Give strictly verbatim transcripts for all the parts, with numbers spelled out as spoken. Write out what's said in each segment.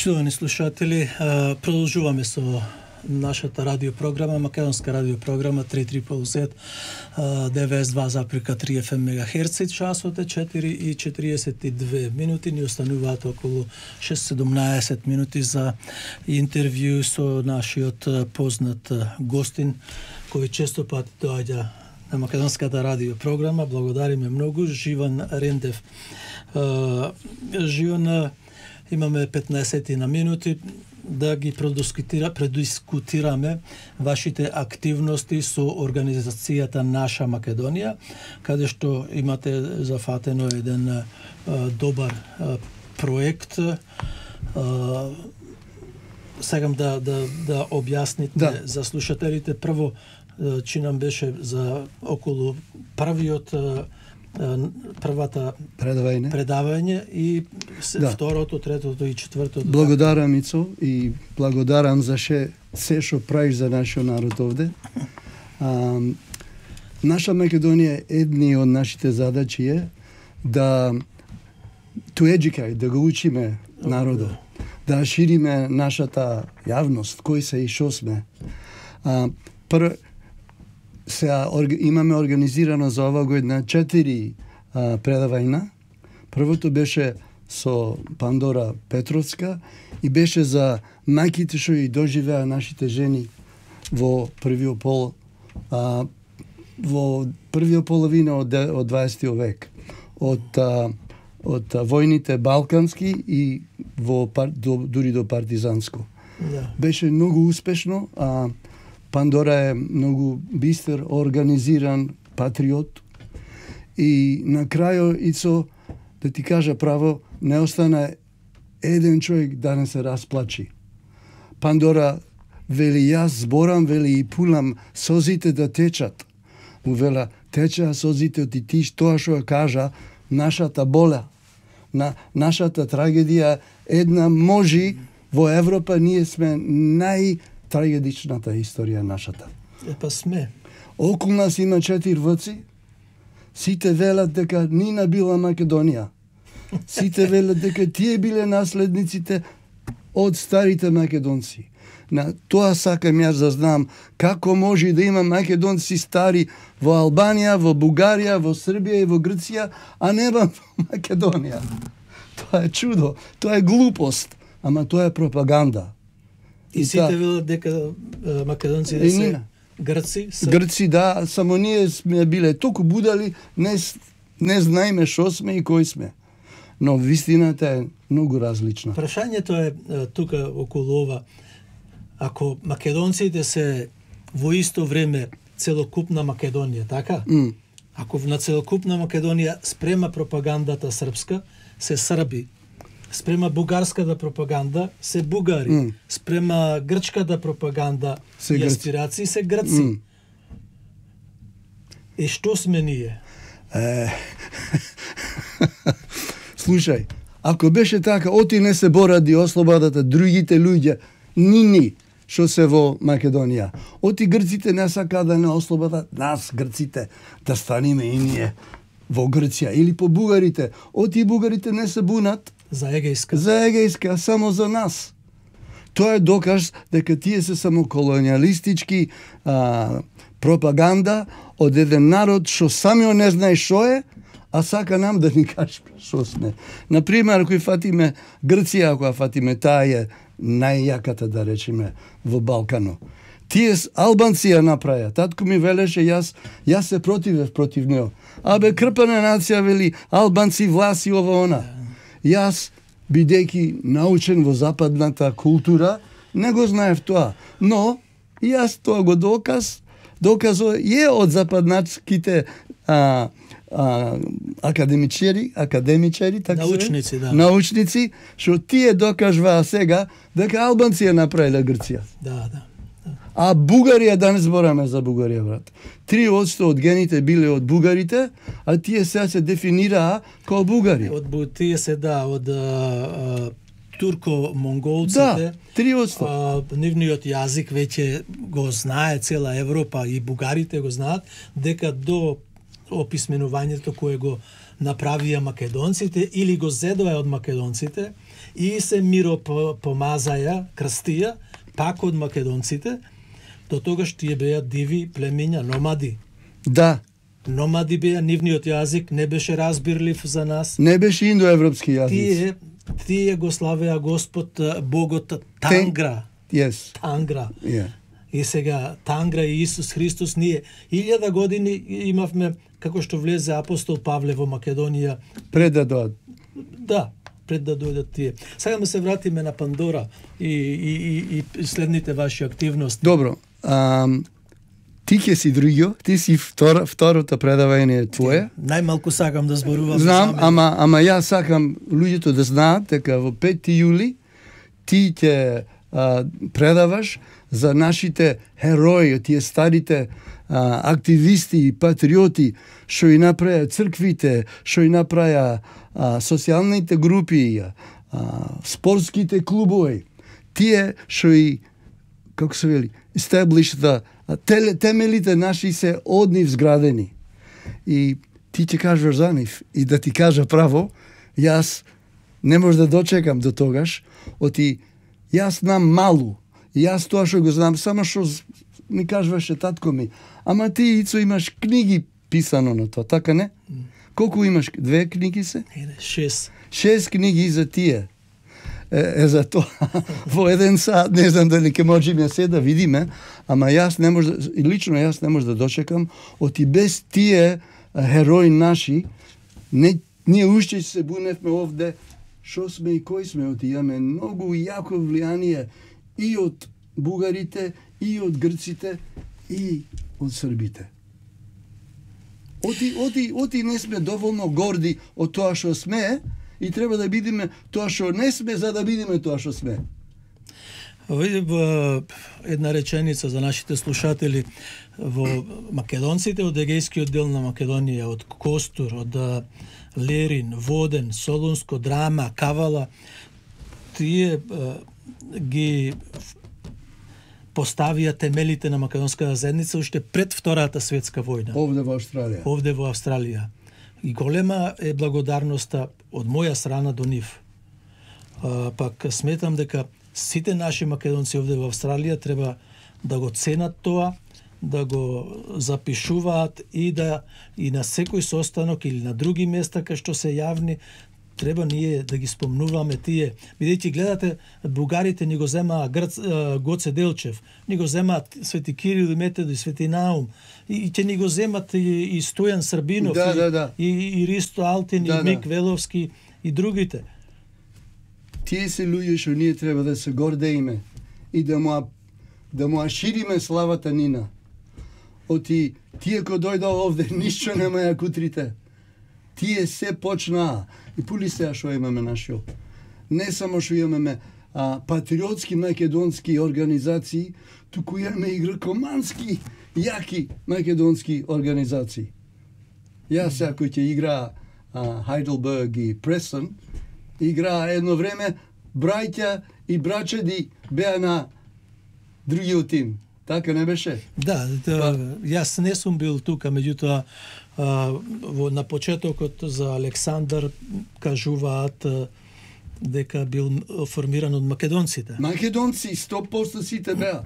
Почитувани слушатели, продолжуваме со нашата радиопрограма, македонска радиопрограма три три зет, деветдесет и два запирка три еф ем мегахерци, часот е четири и четириесет и две минути, ни остануваат околу шест седумнаесет минути за интервју со нашиот познат гостин, кој често пати доаѓа на македонската радиопрограма. Благодариме многу, Живан Рендев. Живан, имаме петнаесет на минути да ги предискутира, предискутираме вашите активности со организацијата Наша Македонија, каде што имате зафатено еден а, добар а, проект. А, Сегам да да да објасните да. за слушателите. Прво, чи нам беше за околу првиот првата предавање, предавање и да. второто, третото и четвртото. Благодарам, Ицо, и благодарам за ше, се што правиш за нашиот народ овде. А, наша Македонија, едни од нашите задачи е да to educate, да го учиме народот, да шириме нашата јавност, кои се и шо сме. А, пр... Сега имаме организирано за ова година четири а, предавања. Првото беше со Пандора Петровска и беше за мајките што и доживеа нашите жени во првиот пол а, во првиот половина од, од дваесетиот век. Од а, од а, војните балкански и во до, дури до партизанско. Yeah. Беше многу успешно. А, Пандора е многу бистер, организиран патриот и на крајот, Ицо, да ти кажа право, не остана еден човек да не се расплачи. Пандора вели, јас зборам, вели, и пулам созите да течат. Му вела, течеа созите од ти тоа што кажа, нашата боля, на нашата трагедија, една можи во Европа, ние сме нај трагедичната историја нашата. Епа сме. Околу нас има четири вци. Сите велат дека Нина била Македонија. Сите велат дека тие биле наследниците од старите македонци. На тоа сакам јас да знам како може да има македонци стари во Албанија, во Бугарија, во Србија и во Грција, а нема во Македонија. Тоа е чудо, тоа е глупост, ама тоа е пропаганда. И сите велат дека македонците се грци? Са... Грци, да, само ние сме биле толку будали, не, не знаеме шо сме и кој сме. Но вистината е многу различна. Прашањето е тука околу ова. Ако македонците се во исто време целокупна Македонија, така? Mm. Ако на целокупна Македонија спрема пропагандата српска, се срби. Спрема бугарската пропаганда се бугари. Mm. Спрема грчката пропаганда се и аспирации се грци. Mm. И што сме ние? Е... Слушај, ако беше така, оти не се боради ослободата другите луѓе, нини, што се во Македонија. Оти грците не сака да не ослободат нас, грците, да станеме и ние во Грција. Или по бугарите. Оти бугарите не се бунат за Егејска. За Егејска, само за нас. Тоа е доказ дека тие се само колониалистички а, пропаганда од еден народ што самиот не знае што е, а сака нам да ни каже што сме. Например, ако фатиме Грција, ако фатиме, таа е најјаката, да речеме, во Балкано. Тие албанци ја направија. Татко ми велеше, јас, јас се противев против него. Абе, крпана нација, вели, албанци, власи, ова, она. Јас, бидејќи научен во западната култура, не го знаев тоа. Но, јас тоа го доказ, доказо е од западнацките а, а, академичари, академичари, така научници, да. Научници, што тие докажваа сега дека албанци ја направиле Грција. Да, да. А Бугарија, да не збораме за Бугарија, брат. три одсто од гените биле од бугарите, а тие сега се дефинираа како бугари. Од тие се, да, од а, турко-монголците. Да, три одсто. А, нивниот јазик веќе го знае цела Европа и бугарите го знаат, дека до описменувањето кое го направија македонците или го зедоа од македонците и се миро помазаја, крстија, пак од македонците, до тогаш тие беа диви племиња, номади. Да. Номади беа, нивниот јазик не беше разбирлив за нас. Не беше индоевропски јазик. Тие, тие го славеа Господ Богот Тангра. Yes. Тангра. Yeah. И сега Тангра и Исус Христос, ние илјада години имавме, како што влезе апостол Павле во Македонија. Пред да дојдат. Да, пред да дојдат тие. Сега да се вратиме на Пандора и, и, и, и следните ваши активности. Добро. Um... Ти ќе си другио, ти си втор, второто предавање твое. Најмалку сакам да зборувам. Знам, ама ама јас сакам луѓето да знаат дека во пети јули ти ќе а, предаваш за нашите херои, тие старите а, активисти и патриоти што и направија црквите, што и направија а, социјалните групи, а, спортските клубови. Тие што и, како се вели, establish the темелите наши се од нив зградени. И ти ќе кажеш за нив. И да ти кажа право, јас не може да дочекам до тогаш, оти јас знам малу. И јас тоа што го знам, само што ми кажуваше татко ми. Ама ти, Ицо, имаш книги писано на тоа, така не? Колку имаш? Две книги се? Шест. Шест книги за тие. Е, е за тоа, во еден сат, не знам дали ќе можеме се да видиме, ама јас не може, лично јас не може да дочекам, оти без тие херои наши, не, ние уште се буневме овде, шо сме и кој сме, оти имаме многу јако влијание и од бугарите, и од грците, и од србите. Оти, оти, оти не сме доволно горди од тоа што сме, и треба да бидеме тоа што не сме, за да бидеме тоа што сме. Во една реченица за нашите слушатели. Во македонците од Егејскиот дел на Македонија, од Костур, од Лерин, Воден, Солунско, Драма, Кавала, тие ги поставија темелите на македонската заедница уште пред Втората светска војна. Овде во Австралија. Овде во Австралија. И голема е благодарноста од моја страна до нив. А, пак сметам дека сите наши македонци овде во Австралија треба да го ценат тоа, да го запишуваат и да и на секој состанок или на други места кај што се јавни, треба ние да ги спомнуваме тие. Бидејќи гледате, бугарите ни го земаа Грц, Гоце Делчев, ни го земаат Свети Кирил и Методи, Свети Наум, и ќе ни го земат и, и Стојан Србинов, да, и, да, да. и, и Ристо Алтин, да, и Мик да. Веловски и другите. Тие се луѓе што ние треба да се гордеиме и да му да му шириме славата нина. Оти тие кои дојдоа овде ништо нема ја кутрите. Тие се почнаа и пули се што имаме нашо. Не само што имаме а, патриотски македонски организации, туку имаме и грекомански јаки македонски организации. Јас сега кој ќе игра Хайделберг и Престон, играа едно време браќа и брачеди беа на другиот тим. Така не беше? Да, да, јас не сум бил тука, меѓутоа во на почетокот за Александар кажуваат дека бил формиран од македонците. Македонци сто проценти сите беа.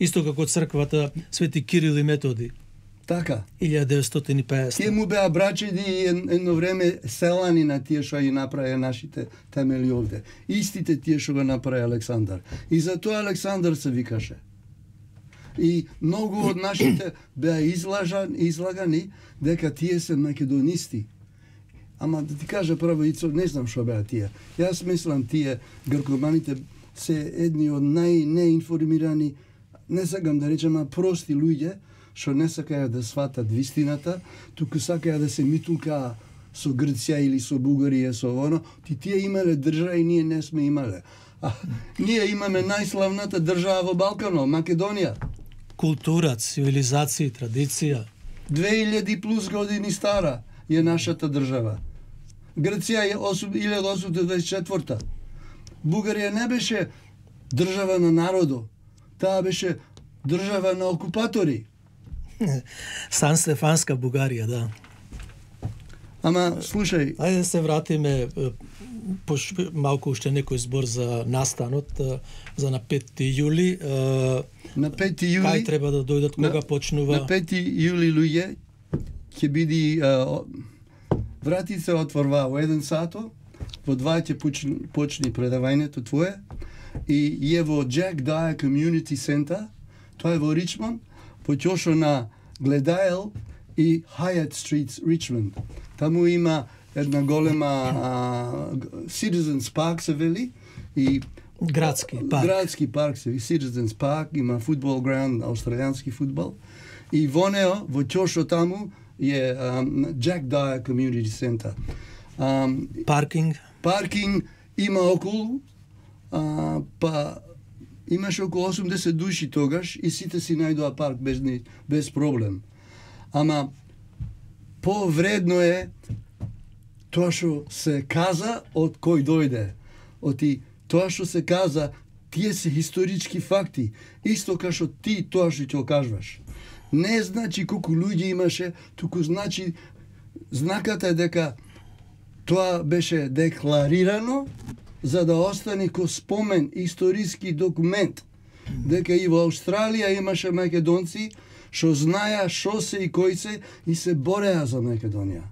Исто како црквата Свети Кирил и Методи. Така. илјада деветстотини и песета. Тие му беа брачеди и едно време селани на тие што ги направија нашите темели овде. Истите тие што го направи Александар. И затоа Александар се викаше. И многу од нашите беа излажан, излагани дека тие се македонисти. Ама да ти кажа право, Ицо, не знам што беа тие. Јас мислам тие гркоманите се едни од најнеинформирани, не сакам да речем, а прости луѓе, што не сакаја да сватат вистината, туку сакаја да се митулкаа со Грција или со Бугарија, со оно. Ти тие имале држава и ние не сме имале. А, ние имаме најславната држава во Балканот, Македонија. Култура, цивилизација, традиција. две илјади плюс години стара е нашата држава. Грција е илјада осумстотини дваесет и четврта. Бугарија не беше држава на народо, таа беше држава на окупатори. Сан Стефанска Бугарија, да. Ама, слушај... Ајде да се вратиме пош, малку уште некој збор за настанот, за на петти јули. На петти јули... Кај треба да дојдат, кога на, почнува? На петти јули, луѓе, ќе биде... Вратите се отворва во еден сато, во два ќе почни, почни предавањето твое, и е во Jack Dyer Community Center, тоа е во Ричмонд, почошо на Гледаел и Hyatt Street, Ричмонд. Таму има една голема а, Citizens Park се вели, и градски парк. Градски парк се вели, Citizens Park, има фудбал граунд, австралијански фудбал, и во нео, во чошо таму, е um, Jack Dyer Community Center. Um, паркинг? Паркинг има околу, а, па имаше околу осумдесет души тогаш и сите си најдоа парк без, без проблем. Ама повредно е тоа што се каза од кој дојде. Оти тоа што се каза, тие се исторички факти, исто како што ти тоа што ќе кажуваш. Не значи колку луѓе имаше, туку значи знаката е дека тоа беше декларирано за да остане ко спомен, историски документ, дека и во Австралија имаше македонци што знаеа што се и кои се и се бореа за Македонија.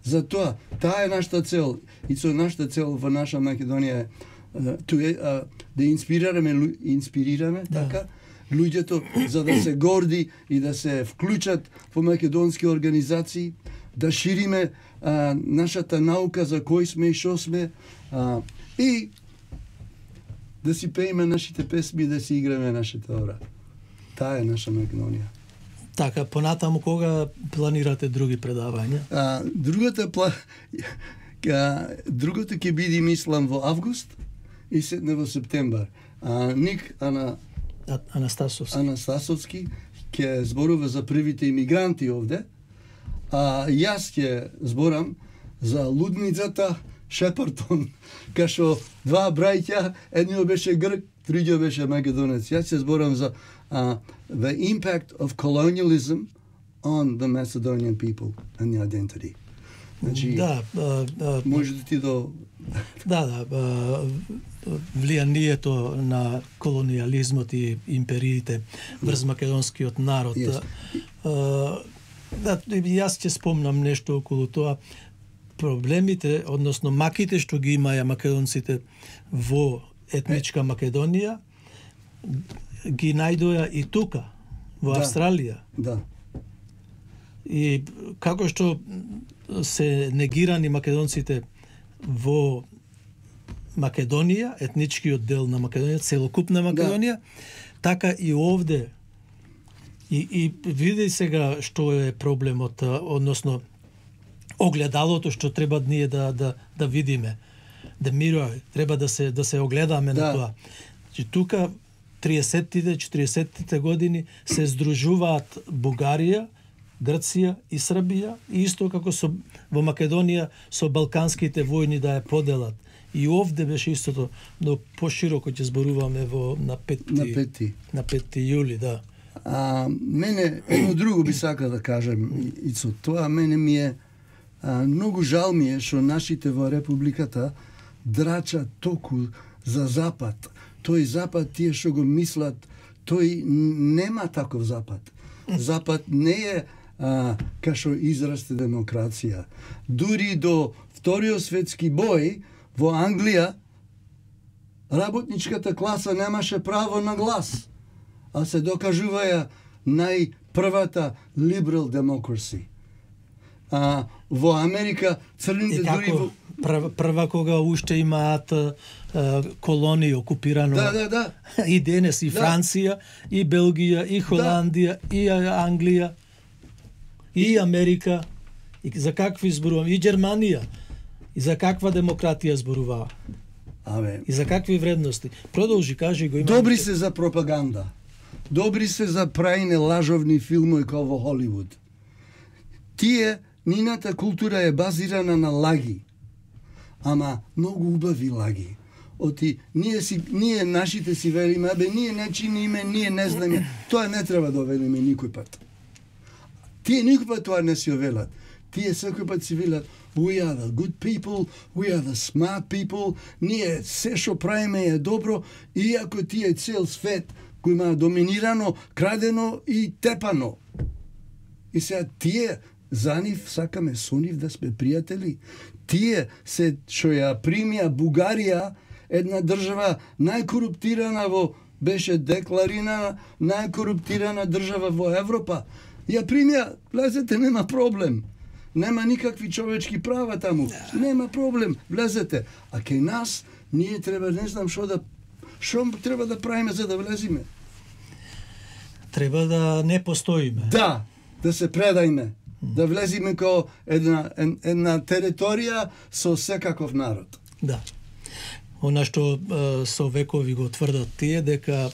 Затоа, таа е нашата цел, и со нашата цел во наша Македонија е да инспирираме, инспирираме, да. така, луѓето за да се горди и да се вклучат во македонски организации, да шириме а, нашата наука за кој сме и што сме, а, и да си пееме нашите песми, да си играме нашата ора. Таа е наша Македонија. Така, понатаму кога планирате други предавања? А, другата пла... а, другото ќе биде, мислам, во август и седне во септембар. А, Ник Ана... Анастасовски. Анастасовски ќе зборува за првите имигранти овде, а јас ќе зборам за лудницата Шепартон, кај што два браќа, едниот беше грк, другиот беше македонец. Јас ќе зборам за uh, the impact of colonialism on the Macedonian people and the identity. Значи, да, а, а, може да ти до... Да, да, а, влијанието на колониализмот и империите врз македонскиот народ. Yes. А, да, јас ќе спомнам нешто околу тоа. Проблемите, односно маките што ги имаја македонците во етничка Македонија, ги најдоа и тука, во да. Австралија. Да. И како што се негирани македонците во Македонија, етничкиот дел на Македонија, целокупна Македонија, да. Така и овде. И, и види сега што е проблемот, односно огледалото што треба ние да да да видиме. Да мирој, треба да се да се огледаме да. На тоа. Че тука триесеттите, четиридесеттите години се здружуваат Бугарија, Грција и Србија, и исто како со во Македонија со балканските војни да ја поделат. И овде беше истото, но пошироко ќе зборуваме во на петти на петти на петти јули, да. А мене едно друго би сакал да кажам, и со тоа мене ми е а, многу жал ми е што нашите во републиката драчат току за запад. Тој запад, тие што го мислат, тој нема таков запад. Запад не е а, кашо израсте демокрација. Дури до Вториот светски бој во Англија работничката класа немаше право на глас, а се докажуваја најпрвата liberal democracy. А во Америка црните дури во... прва, прва кога уште имаат а, колонии окупирано. Да, да, да. И денес и Франција, да. И Белгија, и Холандија, да. И Англија, и Америка. И за какви зборувам? И Германија. И за каква демократија зборуваа? Абе. И за какви вредности? Продолжи, кажи го. Добри се за пропаганда. Добри се за прајне лажовни филмови како во Холивуд. Тие, нината култура е базирана на лаги. Ама многу убави лаги. Оти ние си ние нашите си велиме, абе ние не чиниме, ние не знаме. Тоа не треба да велиме никој пат. Тие никој пат тоа не си велат. Тие секој пат си велат, we are the good people, we are the smart people, ние се што правиме е добро, иако тие цел свет кој има доминирано, крадено и тепано. И сега тие за нив сакаме со нив да сме пријатели. Тие се што ја примија Бугарија, една држава најкоруптирана во беше декларирана најкоруптирана држава во Европа. Ја примија, влезете, нема проблем. Нема никакви човечки права таму. Нема проблем, влезете. А кај нас ние треба, не знам што да што треба да правиме за да влезиме. Треба да не постоиме. Да, да се предајме. Да влезиме како една една територија со секаков народ. Да. Она што е, со векови го тврдат тие дека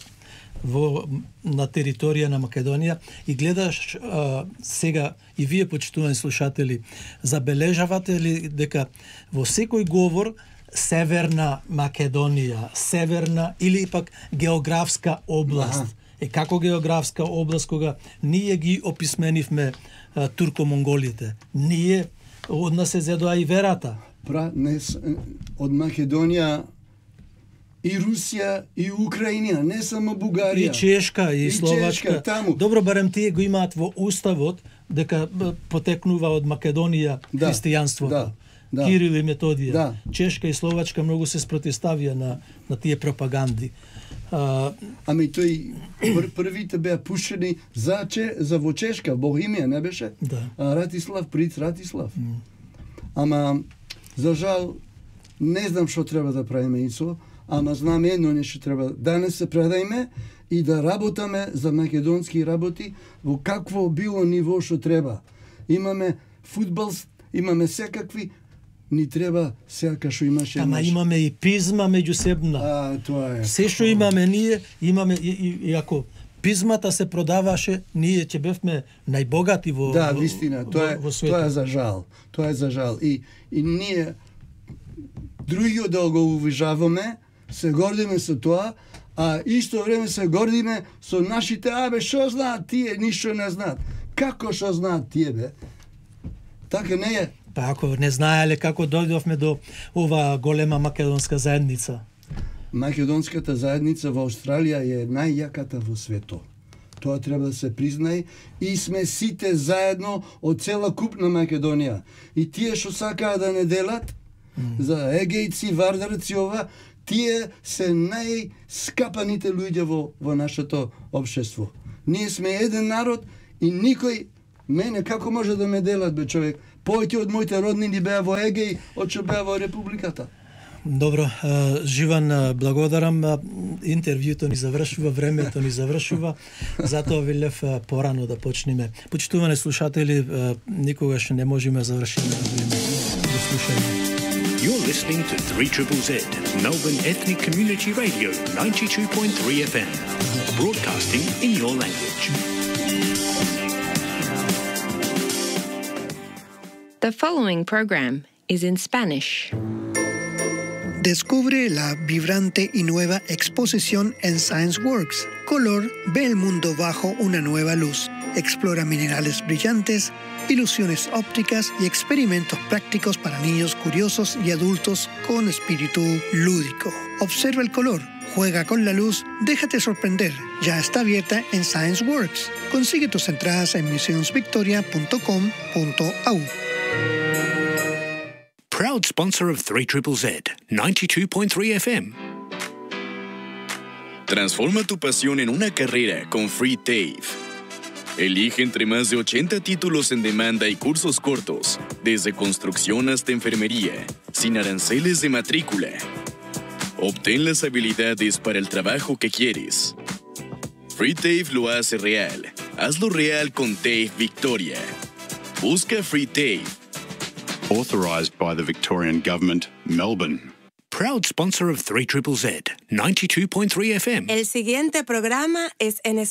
во на територија на Македонија и гледаш а, сега и вие почитувани слушатели, забележавате ли дека во секој говор Северна Македонија, северна или пак географска област. Аха. Е како географска област кога ние ги описменивме а, турко-монголите. Ние од нас се зедоа и верата. Пра, не, од Македонија и Русија, и Украина, не само Бугарија. И Чешка, и, и Словачка. Чешка, таму. Добро, барем тие го имаат во уставот дека потекнува од Македонија да, христијанството. Да, да. Кирил и Методија. Да. Чешка и Словачка многу се спротивставија на, на тие пропаганди. А... Ами тој пр првите беа пушени за че за во Чешка, Богемија, не беше? Да. А, Ратислав, Приц Ратислав. Mm. Ама за жал не знам што треба да правиме ицо. Ама знаме едно нешто треба. Данес се предајме и да работаме за македонски работи во какво било ниво што треба. Имаме фудбал, имаме секакви, ни треба сега што имаше. Ама наш... имаме и пизма меѓусебна. А, тоа е. Се што имаме ние, имаме и, и, и ако пизмата се продаваше, ние ќе бевме најбогати во Да, вистина, тоа е во, во тоа е за жал. Тоа е за жал. И и ние другиот да го уважаваме, се гордиме со тоа, а исто време се гордиме со нашите, абе, што знаат тие, ништо не знаат. Како што знаат тие, бе? Така не е. Па ако не знаеле како дојдовме до ова голема македонска заедница. Македонската заедница во Австралија е најјаката во светот. Тоа треба да се признае и сме сите заедно од цела купна Македонија. И тие што сакаат да не делат, mm. за егејци, вардарци, ова, тие се најскапаните луѓе во, во нашето општество. Ние сме еден народ и никој, мене, како може да ме делат, бе, човек? Повеќе од моите роднини беа во Егеј, од што беа во Републиката. Добро, Живан, благодарам. Интервјуто ни завршува, времето ни завршува, затоа велев порано да почнеме. Почитувани слушатели, никогаш не можеме да завршиме на време. До слушање. You're listening to three Z Z, Melbourne Ethnic Community Radio, ninety-two point three F M, broadcasting in your language. The following program is in Spanish. Descubre la vibrante y nueva exposición en ScienceWorks. Color ve el mundo bajo una nueva luz. Explora minerales brillantes, ilusiones ópticas y experimentos prácticos para niños curiosos y adultos con espíritu lúdico. Observa el color, juega con la luz, déjate sorprender. Ya está abierta en ScienceWorks. Consigue tus entradas en museums victoria punto com punto a u. Proud sponsor of three Z Z, ninety-two point three F M. Transforma tu pasión en una carrera con Free TAFE. Elige entre más de ochenta títulos en demanda y cursos cortos, desde construcción hasta enfermería, sin aranceles de matrícula. Obtén las habilidades para el trabajo que quieres. Free TAFE lo hace real. Hazlo real con TAFE Victoria. Busca Free TAFE. Authorised by the Victorian Government, Melbourne. Proud sponsor of three Z Z, ninety-two point three F M. El siguiente programa es en español.